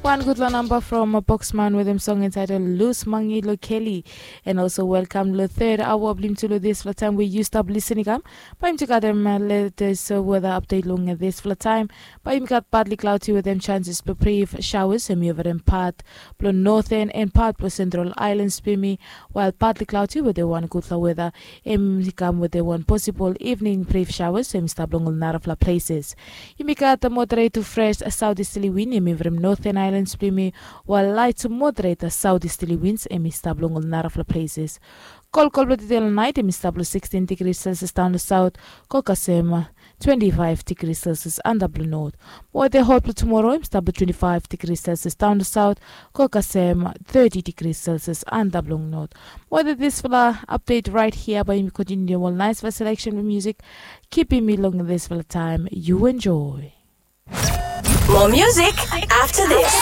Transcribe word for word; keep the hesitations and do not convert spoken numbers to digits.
Wan gutpela namba from Boxman wetem song entitled Lus Mangi Lo Keli. And also welcome lo third hour blong yumi tu lo dispela taim we yu stap lisin i kam. Bae yumi tu gat em latest weather update long dispela taim. Bae yumi gat partly cloudy wetem chances blong brief showers em i over em pat blong Northern and part blong Central Islands blong yumi. While partly cloudy wetem wan gutpela weather em i kam wetem wan possible evening brief showers em i stap long ol narapela places. Yumi gat moderate to fresh southeasterly wind em i from Northern Islands blong yumi. While light to moderate southeasterly winds em i stap long ol narapela places. Kolkol blong tede long nait em i stap long sixteen degrees Celsius down to south, go kasem twenty-five degrees Celsius antap long north. Weather hot blong tomorrow em i stap long twenty-five degrees Celsius down to south, go kasem thirty degrees Celsius antap long north. Weather dispela update right here bae yumi continue ol nice selection blong music. Kipim mi long dispela taim, yu enjoy. More music after this.